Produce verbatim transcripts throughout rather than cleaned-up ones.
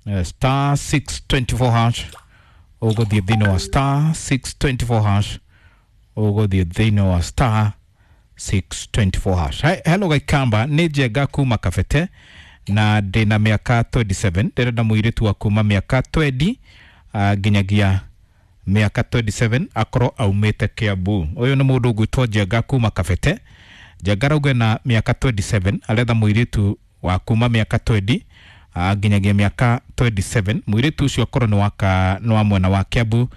Eh, star six twenty four hash ũgũthiĩ thĩinĩ wa star six twenty four hash ũgũthiĩ thĩinĩ wa star six twenty four hash. He, hello Gaikamba, nĩ Njenga kuma Kabete na ndĩna mĩaka twenty seven, ndĩrenda mũirĩtu wa kuma mĩaka twenty uh, nginyagia mĩaka twenty seven akorwo aumĩte Kiambu. Ũyũ nĩ mũndũ ũgwĩtwo Njenga kuma Kabete. Njenga arauga na mĩaka twenty seven aretha mũirĩtu wa kuma mĩaka twenty uh, nginyagia mĩaka twenty seven. Mũirĩtu ũcio akorwo nĩ wa ka- nĩ wa mwena wa Kiambu.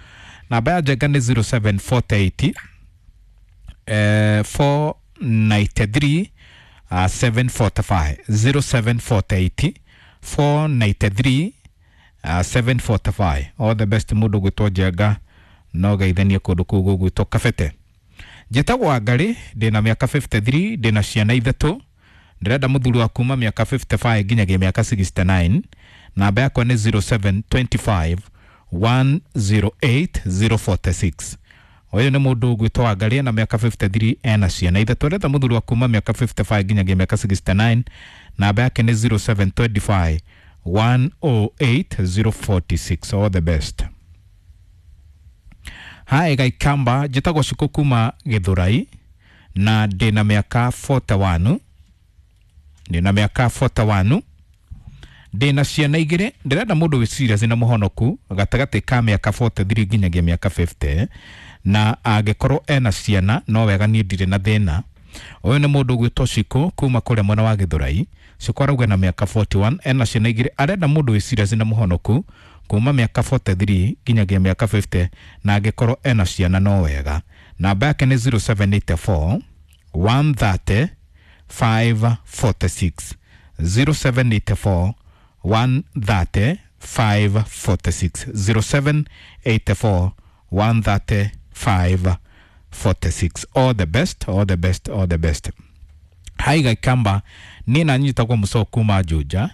Namba ya Njenga nĩ zero seven four eight, eh, four ninety three, uh, seven forty five. zero seven four eight, four ninety three, uh, seven forty five. All the best mũndũ gwĩtwo Njenga, no geithanie kũndũ kũu gũgwĩtwo Kabete. Njĩtagwo Wangarĩ, ndĩna mĩaka fifty three, ndĩna ciana ithatũ. Ndĩrenda mũthuri wa kuma mĩaka fifty five nginyagia mĩaka sixty nine. Namba yakwa nĩ zero seven twenty five, one zero eight, zero forty six. Ũyũ nĩ mũndũ ũgwĩtwo Wangarĩ ena mĩaka fifty three, ena ciana ithatũ. Arenda mũthuri wa kuma mĩaka fifty five nginyagia mĩaka sixty nine. Namba yake nĩ zero seven twenty five, one oh eight, zero forty six. All the best. Hi Gaikamba, njĩtagwo Cikũ kuma Gĩthũrai na ndĩna mĩaka forty one. Ndĩna mĩaka forty one. Ndĩna ciana igĩrĩ. Ndĩrenda mũndũ wĩ serious na mũhonoku gatagatĩ ka mĩaka forty three nginyagia mĩaka fifty, na angĩkorwo ena ciana no wega, niĩ ndirĩ na thĩna. Ũyũ nĩ mũndũ ũgwĩtwo Cikũ kuma kũrĩa mwena wa Gĩthũrai. Cikũ arauga na mĩaka forty one, ena ciana igĩrĩ, arenda mũndũ wĩ serious na mũhonoku kuma mĩaka forty three nginyagia mĩaka fifty, na angĩkorwo ena ciana no wega. Namba yake nĩ zero seven eight four, one thirty, five forty six. zero seven eight four, one thirty, five forty six. zero seven eight four, one thirty, five forty six. All the best, all the best, all the best. Hi Gaikamba, niĩ na nyitagwo Mũcoo kuma Juja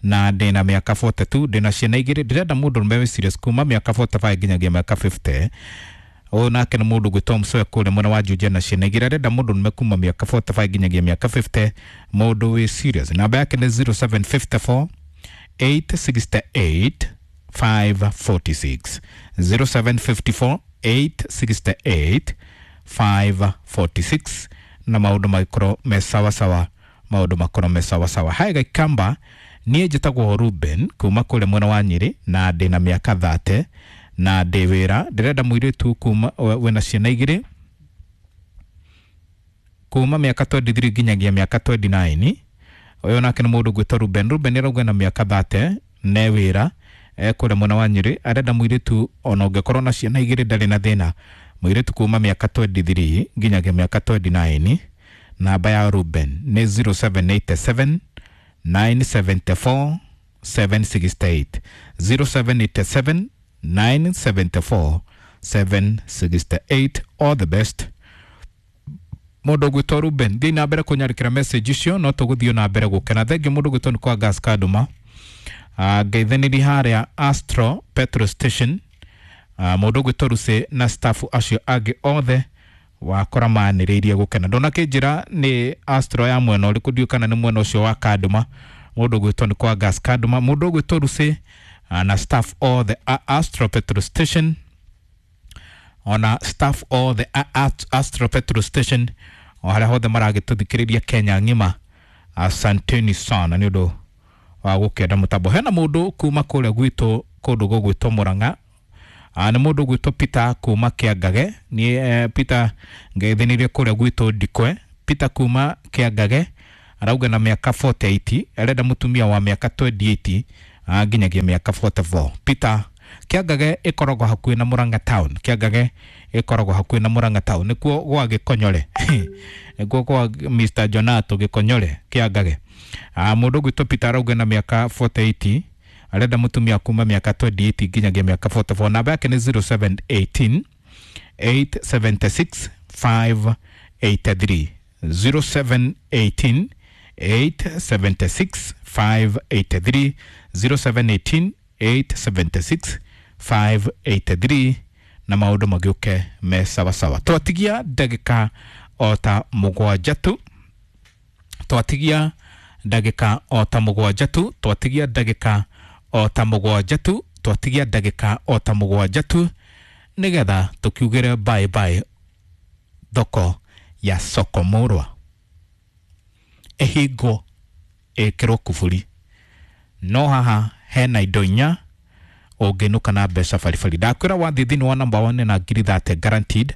na ndĩna mĩaka forty two, ndĩna ciana igĩrĩ, ndĩrenda mũndũ ũrũme wĩ serious kuma mĩaka forty five nginyagia mĩaka fifty. Ũyũ nake nĩ mũndũ gwĩtwo Mũcoo kũrĩa mwena wa Juja na ciana igĩrĩ, arenda mũndũ ũrũme kuma mĩaka forty five nginyagia mĩaka fifty, mũndũ wĩ serious. Namba yake nĩ zero seven fifty four, eight sixty eight, five forty six. zero seven fifty four, eight sixty eight, five forty six. Na maũndũ magĩkorwo me sawa sawa, maũndũ makorwo me sawa sawa. Hi Gaikamba, niĩ njĩtagwo Ruben kuma kũrĩa mwena wa Nyĩrĩ na ndĩna mĩaka thate na ndĩ wĩra. Ndĩrenda mũirĩtu kuma wĩna ciana igĩrĩ kuma mĩaka twenty three nginyagia mĩaka twenty nine. Ũyũ nake nĩ mũndũ gwĩtwo Ruben. Ruben arauga na mĩaka thate ne wĩra e kũrĩa mwena wa Nyĩrĩ, arenda mũirĩtu ona ũngĩkorwo na ciana igĩrĩ ndarĩ na thĩna, mũirĩtu kuma mĩaka twenty three nginyagia mĩaka twenty nine. Namba ya Ruben nĩ zero seven eight seven, nine seventy four, seven sixty eight. zero seven eight seven, nine seventy four, seven sixty eight. All the best. Mũndũ ũgwĩtwo Ruben, thiĩ na mbere kũnyandĩkĩra message icio, no tũgũthiĩ na mbere gũkena. Thengiũ mũndũ ũgwĩtwo nĩ kwa Gas Kaduma. Ah, ngeithanĩria harĩa Astro Petrol Station. Ah, mũndũ ũgwĩtwo Rusi na staff acio angĩ othe wakora manĩrĩirie gũkena. Ndonakĩnjĩra nĩ Astro ya mwena ũrĩkũ, ndiũĩ kana nĩ mwena ũcio wa Kaduma. Mũndũ ũgwĩtwo nĩ kwa Gas Kaduma, mũndũ ũgwĩtwo Rusi, ah, na staff othe a Astro Petrol Station, ona staff othe a Astro Petrol Station o harĩa hothe maragĩtũthikĩrĩria Kenya ng'ima, asanteni sana nĩ ũndũ wa gũkenda mũtambo. Hena mũndũ kuma kũrĩa gwitũ kũndũ gũgwĩtwo Mũrang'a, Ah, nĩ mũndũ ũgwĩtwo Peter kuma Kĩangage. Niĩ eh, Peter ngeithanirie kũrĩa gwitũ Ndikwe. Peter kuma Kĩangage arauga na mĩaka forty eight, arenda mũtumia wa mĩaka twenty eight, ah, nginyagia mĩaka forty four. Peter, Kĩangage ĩkoragwo hakuhĩ na Mũrang'a town. Kĩangage ĩkoragwo hakuhĩ na Mũrang'a town, nĩkuo gwa Gĩkonyore, nĩkuo kwa Mister Jonato Gĩkonyore Kĩangage. Ah, mũndũ ũgwĩtwo Peter arauga na mĩaka forty eight, arenda mũtumia kuma mĩaka twenty eight nginyagia mĩaka forty four. Namba yake nĩ zero seven eighteen, eight seventy six, five eighty three. zero seven eighteen, eight seventy six, five eighty three. zero seven eighteen, eight seventy six, five eighty three. Na maũndũ magĩũke me sawasawa. Twatigia ndagĩka o ta mũgwanja tu, twatigia ndagĩka o ta mũgwanja tu, twatigia ndagĩka o ta mũgwanja tu, twatigia ndagĩka o ta mũgwanja tu nĩgetha tũkiugĩre bye bye thoko ya soko mũrwa ĩhingwo ĩkĩrwo kuburi. No haha hena indo inya ũngĩnũka na mbeca baribari. Ndakwĩra wathiĩ thĩinĩ wa number one na ngiri thate guaranteed,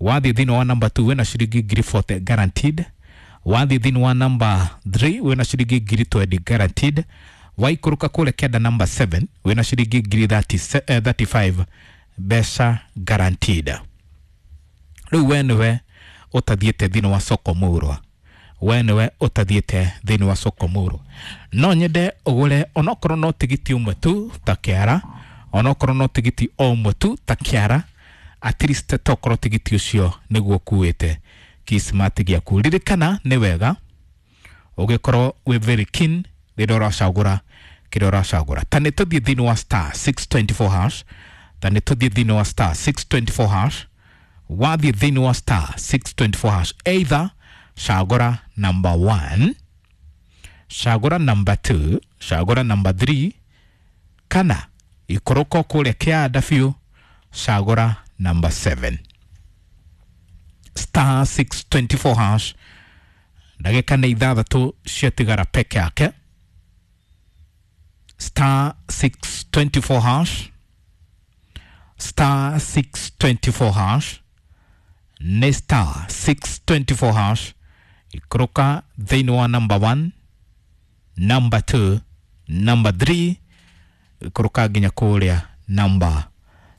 wathiĩ thĩinĩ wa number two wĩna ciringi ngiri forty guaranteed, wathiĩ thĩinĩ wa number three wĩna ciringi ngiri twenty guaranteed, waikũrũka kũrĩa kenda number seven wĩna ciringi ngiri thirty five mbeca guaranteed. Rĩu we nĩwe ũtathiĩte thĩinĩ wa soko mũrwa, we nĩwe ũtathiĩte thĩinĩ wa soko mũrwa, no nyende ũgũre onokorwo no tigiti ũmwe tu ta kĩara, onokorwo no tigiti o ũmwe tu ta kĩara, at least tokorwo tigiti ũcio nĩguo ũkuĩte kismati gĩaku. Ririkana nĩ wega ũgĩkorwo wĩ very keen rĩrĩa ũracagũra kĩrĩa ũracagũra. Ta nĩ tũthiĩ thĩinĩ wa star six twenty four hash, ta nĩ tũthiĩ thĩinĩ wa star six twenty four hash, wathiĩ thĩinĩ wa star six twenty four hash, either cagũra number one, cagũra number two, cagũra number three, kana ikũrũka kũrĩa kĩanda biũ cagũra number seven. Star six twenty four hash, ndagĩka nĩ ithathatũ ciatigara peke yake. Star six twenty four hash, star six twenty four hash, nĩ star six twenty four hash, ikũrũka thĩinĩ wa number one, number two, number three, ikũrũka nginya kũrĩa number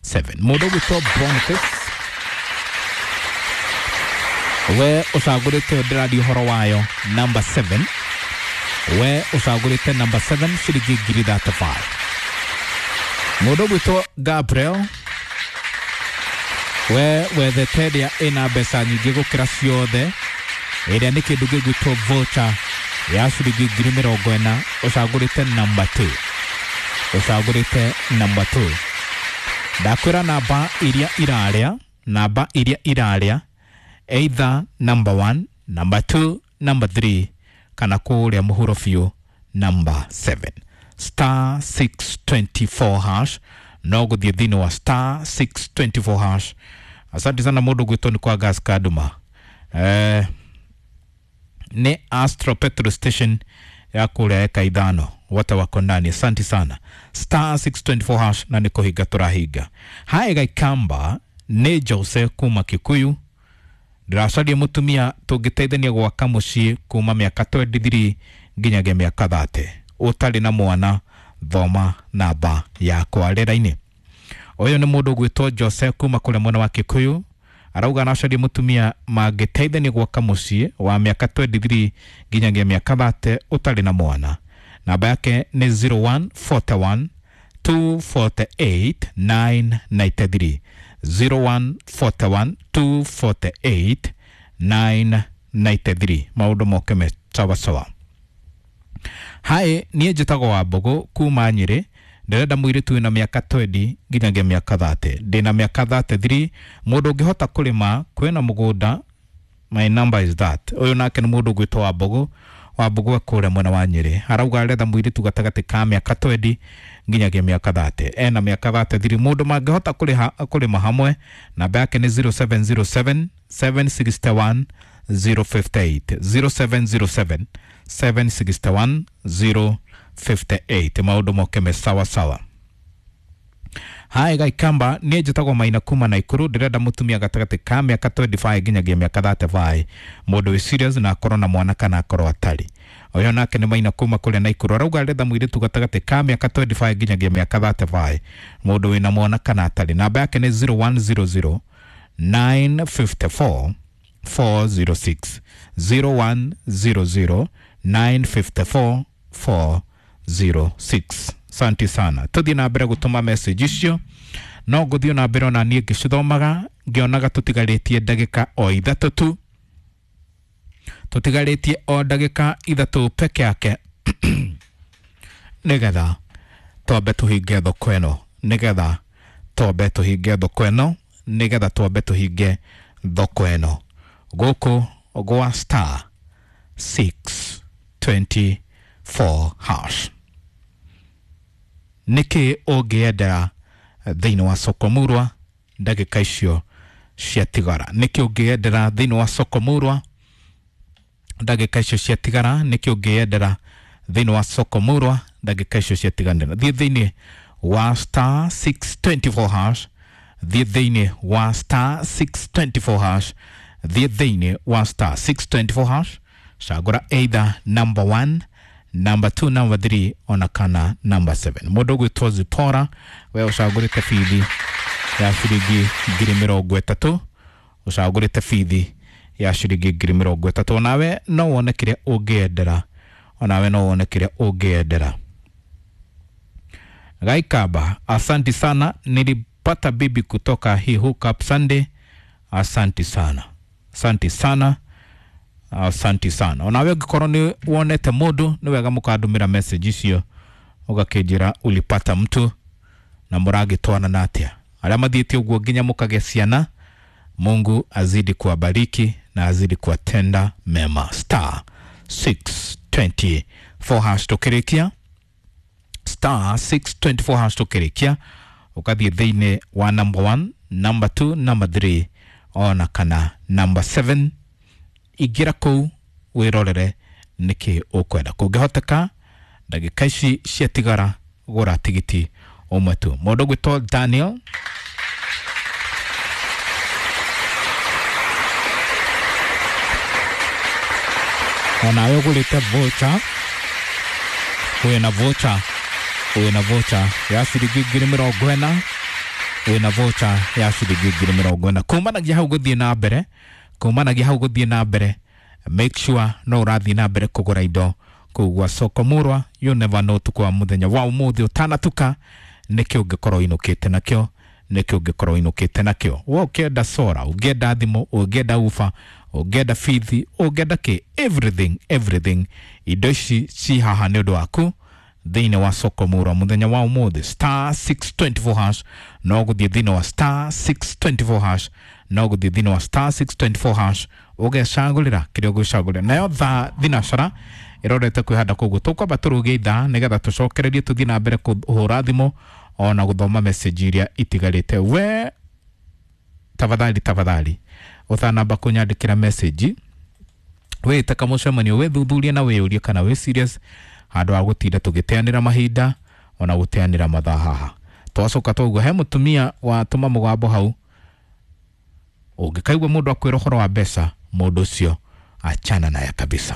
seven. Mũndũ ũgwĩtwo Boniface, we ũcagũrĩte ndĩraria ũhoro wayo number seven, we ũcagũrĩte number seven ciringi ngiri thirty five. Mũndũ ũgwĩtwo Gabriel, we wethete ĩrĩa ĩna mbeca nyingĩ gũkĩra ciothe, ĩrĩa nĩ kĩndũ gĩgwĩtwo voucher ya ciringi ngiri mĩrongo ĩna, ũcagũrĩte number two, ũcagũrĩte number two. Ndakwĩra namba iria irarĩa, namba iria irarĩa either number one, number two, number three, kana kũrĩa mũhuro biũ number seven. Star six twenty four hash, no gũthiĩ thĩinĩ wa star six twenty four hash. Asante sana mũndũ gwĩtwo nĩ kwa gas Kaduma. Eh, nĩ Astro Petrol Station ya kũrĩa eka ithano, wote wako ndani. Asante sana. Star six twenty four hash na nĩ kũhinga tũrahinga. Hae Gaikamba nĩ Jose kuma Kikuyu, ndĩracaria mũtumia tũngĩteithania gwaka mũciĩ kuma mĩaka twenty three nginyagia mĩaka thirty, ũtarĩ na mwana, thoma namba yakwa rĩera-inĩ. Ũyũ nĩ mũndũ ũgwĩtwo Jose kuma kũrĩa mwena wa Kikuyu, arauga aracaria mũtumia mangĩteithania gwaka mũciĩ wa mĩaka twenty three nginyagia mĩaka thirty, ũtarĩ na mwana. Namba yake nĩ zero one forty one two forty eight nine ninety three, zero one forty one two forty eight nine ninety three. Maũndũ moke me sawa sawa. Hae, niĩ njĩtagwo Wambũgũ kuma Nyĩrĩ, ndĩrenda mũirĩtu wĩna mĩaka twenty nginyagia mĩaka thirty, ndĩna mĩaka thirty three, mũndũ ũngĩhota kũrĩma, kwĩna mũgũnda, my number is that. Ũyũ nake nĩ mũndũ ũgwĩtwo Wambũgũ, Wambũgũ e kũrĩa mwena wa Nyĩrĩ, arauga aretha mũirĩtu gatagatĩ ka mĩaka twenty nginyagia mĩaka thirty, ena mĩaka thirty three, mũndũ mangĩhota kũrĩha kũrĩma hamwe. Namba yake nĩ zero seven zero seven seven sixty one zero fifty eight, zero seven zero seven seven sixty one zero fifty eight. Maũndũ moke me sawa sawa. Hae Gaikamba, niĩ njĩtagwo Maina kuma Naikuru, ndĩrenda mũtumia gatagatĩ ka mĩaka twenty five nginyagia mĩaka thirty five, mũndũ wĩ serious na akorwo na mwana kana akorwo atarĩ. Ũyũ nake nĩ Maina kuma kũrĩa Naikuru, arauga aretha mũirĩtu gatagatĩ ka mĩaka twenty five nginyagia mĩaka thirty five, mũndũ wĩna mwana kana atarĩ. Namba yake nĩ zero one zero zero nine fifty four four zero six, zero one zero zero nine fifty four four zero six. Asante sana. Tũthiĩ na mbere gũtũma message icio, no ngũthiĩ na mbere ona niĩ ngĩcithomaga ngĩonaga tũtigarĩtie ndagĩka o ithatũ tu, tũtigarĩtie o ndagĩka ithatũ peke yake nĩgetha twambe tũhinge thoko ĩno, nĩgetha twambe tũhinge thoko ĩno, nĩgetha twambe tũhinge thoko ĩno gũkũ gwa star six twenty four hash. Nĩkĩ ũngĩendera thĩinĩ wa soko murwa ndagĩka icio ciatigara? Nĩkĩ ũngĩendera thĩinĩ wa soko murwa ndagĩka icio ciatigara? Nĩkĩ ũngĩendera thĩinĩ wa soko murwa ndagĩka icio ciatiganĩra? Thiĩ thĩinĩ wa star six twenty four hash, thiĩ thĩinĩ wa star six twenty four hash, thiĩ thĩinĩ wa star six twenty four hash, cagũra either number one, number two, number three ona kana number seven. Mũndũ ũgwĩtwo Zipora, we ũcagũrĩte bithi ya ciringi ngiri mĩrongo ĩtatũ, ũcagũrĩte bithi ya ciringi ngiri mĩrongo ĩtatũ. Onawe no wone kĩrĩa ũngĩendera, onawe no wone kĩrĩa ũngĩendera. Gaikaba, asanti sana, nilipata bibi kutoka hii Hookup Sunday. Asanti sana, asanti sana, asanti sana. Onawe ũngĩkorwo nĩ wonete mũndũ, nĩ wega mũkandũmĩra message icio ũgakĩnjĩra ulipata mtu na mũragĩtwarana atĩa. Arĩa mathiĩte ũguo nginya mũkagĩa ciana, Mungu azidi kuwabariki na azidi kuwatenda mema. Star six twenty four hash tũkĩrĩkia, star six twenty four hash tũkĩrĩkia, ũgathiĩ thĩinĩ wa number one, number two, number three ona kana number seven. Ingĩra kũu wĩrorere nĩkĩ ũkwenda. Kũngĩhoteka ndagĩka ici ciatigara, gũra tigiti ũmwe tu. Mũndũ ũgwĩtwo Daniel onawe ũgũrĩte voucher, wĩna voucher, wĩna voucher ya ciringi ngiri mĩrongo ĩna, wĩna voucher ya ciringi ngiri mĩrongo ĩna. Kumanagia hau gũthiĩ na mbere, kumanagia hau gũthiĩ na mbere, make sure no ũrathiĩ na mbere kũgũra indo kũu gwa soko murwa. You never know ũtukũ wa mũthenya wa ũmũthĩ ũtanatuka nĩkĩ ũngĩkorwo ũinũkĩte nakĩo, nĩkĩ ũngĩkorwo ũinũkĩte nakĩo. We ũkĩenda sora, ũngĩenda thimũ, ũngĩenda ufa, ũngĩenda bithi, ũngĩenda kĩ, everything, everything, indo ici ci haha nĩ ũndũ waku thĩinĩ wa soko murwa mũthenya wa ũmũthĩ. Star six twenty four hash, no gũthiĩ thĩinĩ wa star six twenty four hash, no gũthiĩ thĩinĩ wa star six twenty four hash ũgecagũrĩra kĩrĩa ũgwĩcagũrĩra. Nayo thaa thinacara ĩrorete kwĩhanda, koguo tũkwamba tũrũgie ithaa nĩgetha tũcokererie tũthiĩ na mbere kũhũra thimũ ona gũthoma message iria itigarĩte. We tafadhali, tafadhali ũtanamba kũnyandĩkĩra message, wĩte kamũcemanio, wĩthuthurie na wĩyũrie kana wĩ serious, handũ ha gũtinda tũgĩteanĩra mahinda ona gũteanĩra mathaa haha. Twacoka twaigua he mũtumia watũma mũgambo hau, ũngĩkaigua mũndũ akwĩra ũhoro wa mbeca, mũndũ ũcio achana naye kabisa.